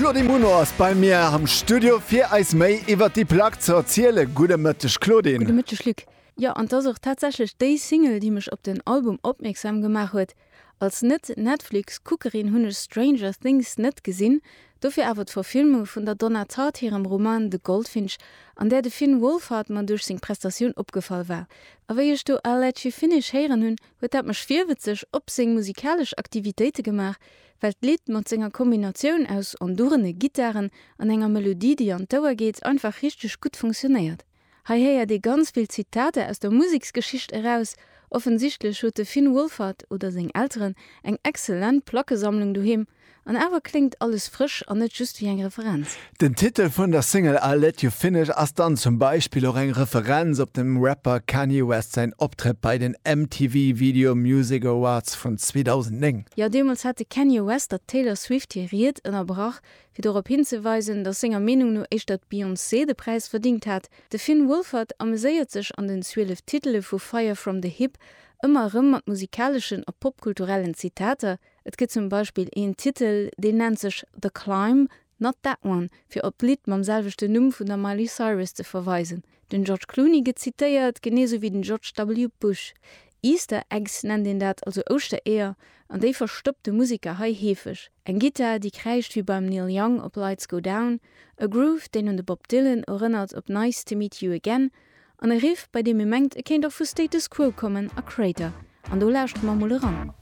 D'Claudine Muno ass bei mir am Studio fir eis méi iwwert déi Plack ze erzielen. Gudde Mëtteg Claudine. Gudde Mëtteg Luc. Jo, an 't ass och tatsächlech déi Single, déi mech op den Album opmierksam gemaach huet. Als Net-Netflix-Kuckerin hunn ech Stranger Things net gesinn, dofir awer d'Verfilmung vun der Donna Tartt hirem Roman The Goldfinch, an där de Finn Wolfhard mer duerch seng Prestatioun opgefall war. A wéi ech do I'll Let You Finish héieren hunn, huet dat mech virwëtzeg op seng musikalesch Aktivitéite gemaach, well d'Lidd mat senger Kombinatioun aus ondurene Gittaren an enger Melodie, déi an d'Ouer geet, einfach richteg gutt funktionéiert. Hei héiert ee ganz vill Zitater aus der Museksgeschicht eraus. Offensichtlech huet de Finn Wolfhard, oder seng Elteren, eng exzellent Plackesammlung doheem. An awer kléngt alles frësch an net just wéi eng Referenz. Den Titel vun der Single I'll Let You Finish ass dann zum Beispill och eng Referenz op dem Rapper Kanye West säin Optrëtt bei den MTV Video Music Awards vun 2009. Jo, deemools hat de Kanye West der Taylor Swift hir Ried ënnerbrach, Fir dorop hinzeweisen, datt senger Meenung no éischter d'Beyoncé de Präis verdingt hat. De Finn Wolfhard ameséiert sech an den 12 Titele vu Fire From The Hip ëmmer erëm mat musikaleschen a popkulturellen Zitater. Et gëtt zum Beispill een Titel, deen nennt sech The Climb, Not That One, fir op d'Lidd mam selwechten Numm vun der Miley Cyrus ze verweisen. Den George Clooney gëtt zitéiert, genee sou wéi den George W. Bush. Easter Eggs nennt een dat, also Ouschtereeër, an déi verstoppt de Museker hei heefeg. Eng Gittar, déi kräischt wéi beim Neil Young op Lights Go Down, e Groove, deen un de Bob Dylan erënnert op Nice To Meet You Again, an e Riff, bei deem ee mengt, e kéint och vu Status Quo kommen a Kreator. An do lauschtere mer mol eran.